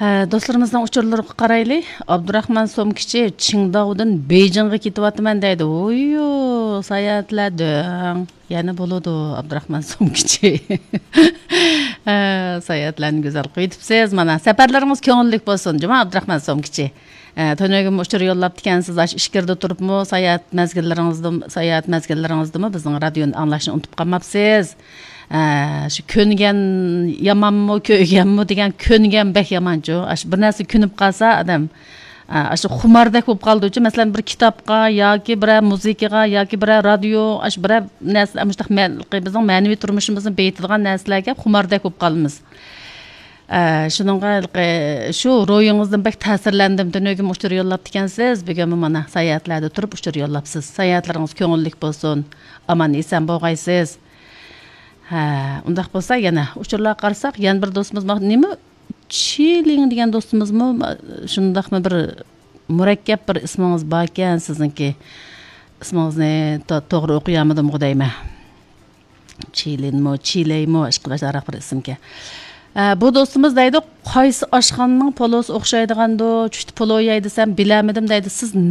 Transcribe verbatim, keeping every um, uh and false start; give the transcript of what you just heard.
ھە، دوستلىرىمىزنىڭ ئۇچۇرلىرىغا قارايلى. ئابدۇراخمان سومكىچى، چىڭداۋدىن بېيجىڭغا كېتىۋاتىمەن دەيدۇ. ھويۇ، ساياھەتلەر دۆڭ. يەنە بولىدۇ، ئابدۇراخمان سومكىچى. ھە، ساياھەتلەرنى گۈزەل قىلىۋېتىپسىز. مانا، سەپەرلىرىڭىز كۆڭۈللۈك بولسۇن، جۇما ئابدۇراخمان سومكىچى. ئە، تۈنۈگۈن ئۇچۇر يوللاپتىكەنسىز، ئاشۇ ئىچكىرىدە تۇرۇپمۇ ساياھەت مەزگىللىرىڭىزدىمۇ، ساياھەت مەزگىللىرىڭىزدىمۇ بىزنىڭ رادىيونى ئاڭلاشنى ئۇنتۇپ قالماپسىز. ئە، شۇ كۆنگەن يامانمۇ، كۆيگەنمۇ دېگەن، كۆنگەن بەك يامانچۇ. ئاشۇ بىر نەرسە كۆنۈپ قالسا ئادەم، ئە، ئاشۇ خۇماردەك بولۇپ قالىدۇچۇ. مەسىلەن، بىر كىتابقا ياكى بىرەر مۇزىكىغا ياكى بىرەر رادىيو، ئاشۇ بىرەر نەرسە، مۇشۇنداق مەن-، بىزنىڭ مەنىۋى تۇرمۇشىمىزنى بېيىتىدىغان نەرسىلەرگە خۇماردەك بولۇپ قالىمىز. ئە، شۇنىڭغا ھېلىقى شۇ روھىڭىزدىن بەك تەسىرلەندىم. تۈنۈگۈن ئۇچۇر يوللاپتىكەنسىز، بۈگۈنمۇ مانا ساياھەتلەردە تۇرۇپ ئۇچۇر يوللاپسىز. ساياھەتلىرىڭىز كۆڭۈللۈك بولسۇن، ئامان ئېسەن بولغايسىز. ھە، ئۇنداق بولسا يەنە ئۇچۇرلارغا قارىساق، يەنە بىر دوستىمىز بار. نېمە؟ چىلىڭ دېگەن دوستىمىزمۇ شۇنداقمۇ بىر مۇرەككەپ بىر ئىسمىڭىز باركەن سىزنىڭكى. ئىسمىڭىزنى تو-، توغرا ئوقۇيالمىدىمغۇ دەيمەن. چىلىنمۇ، چىلەيمۇ، ئىشقىلىپ ئاشۇنداق بىر ئىسىمكەن. ئە، بۇ دوستىمىز دەيدۇ، قايسى ئاشخانىنىڭ پولۇسى ئوخشايدىغاندۇ؟ چۈشتە پولۇ يەي دېسەم، بىلەلمىدىم دەيدۇ. سىز